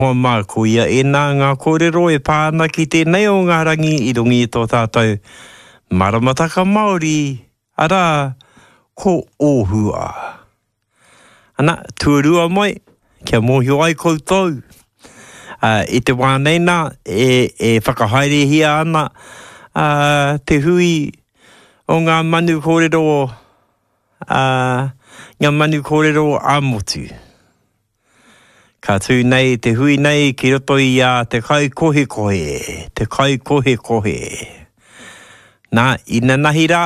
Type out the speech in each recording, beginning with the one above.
Hoa mā, koia ēnā ngā kōrero e pā ana ki tēnei o ngā rangi i runga i tō tātou maramataka Māori, arā, ko Ōhua. Ana, tuarua mai, kia mōhio ai koutou, ā, i te wā nei nā, e, e whakahaerehia ana, ā, te hui o ngā manu kōrero, ā, ngā manu kōrero ā-motu. Ka tū nei te hui nei ki roto i a Te Kaikohekohe, Te Kaikohekohe. Nā, inanahi rā,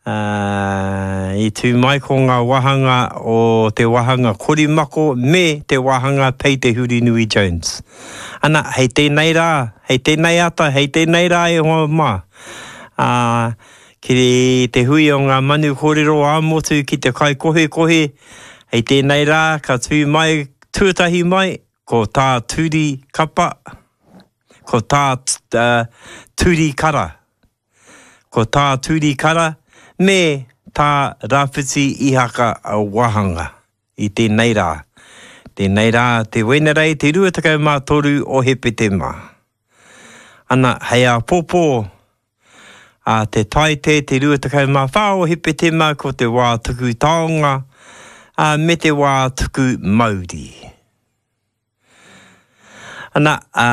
ā, i tū mai ko ngā wāhanga o te wāhanga Korimako me te wāhanga Pei Te Hurinui Jones. Ana, hei tēnei rā, hei tēnei ata, hei tēnei rā e hoa mā, ā, Ki te hui o ngā manu kōrero ā-motu ki te kaikohekohe, hei tēnei rā ka tū mai, tuatahi mai, ko Tā Turi Kapa, ko Tā Turi Kara, ko Tā Turi Kara me Tā Rawhiti Ihaka Wahanga i tēnei rā. Tēnei rā, te Wenerei, te 23 o Hepetema. Ana, hei āpōpō, Ā te Taite te 24 o Hepetema ko te wā tuku taonga, ā, me te wā tuku mauri. Ana, ā,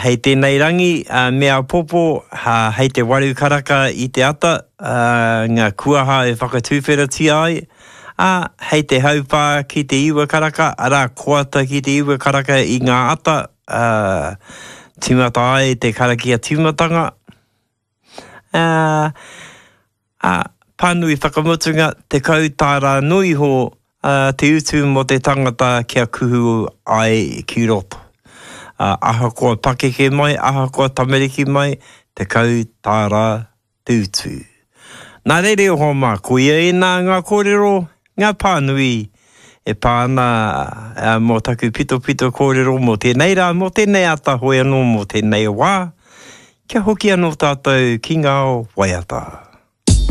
hei tēnei rangi, ā, me āpōpō, ā, hei te waru karaka i te ata, ā, ngā kuaha e whakatuwheratia ai, ā, hei te hauwhā ki te iwa karaka, arā, koata ki te iwa karaka i ngā ata, ā, tīmata ai te karakia tīmatanga, ā, ā, pānui whakamutunga, 10 tāra noa iho, ā, te utu mō te tangata kia kuhu ai ki roto. Ā, ahakoa pakeke mai, ahakoa tamariki mai, 10 tāra te utu. Nā reira e hoa mā, koia ēnā ngā kōrero, ngā pānui e pā ana mō taku pitopito kōrero mō tēnei rā, mō tēnei ata hoi anō mō tēnei wā, kia hoki anō tātou ki ngā waiata.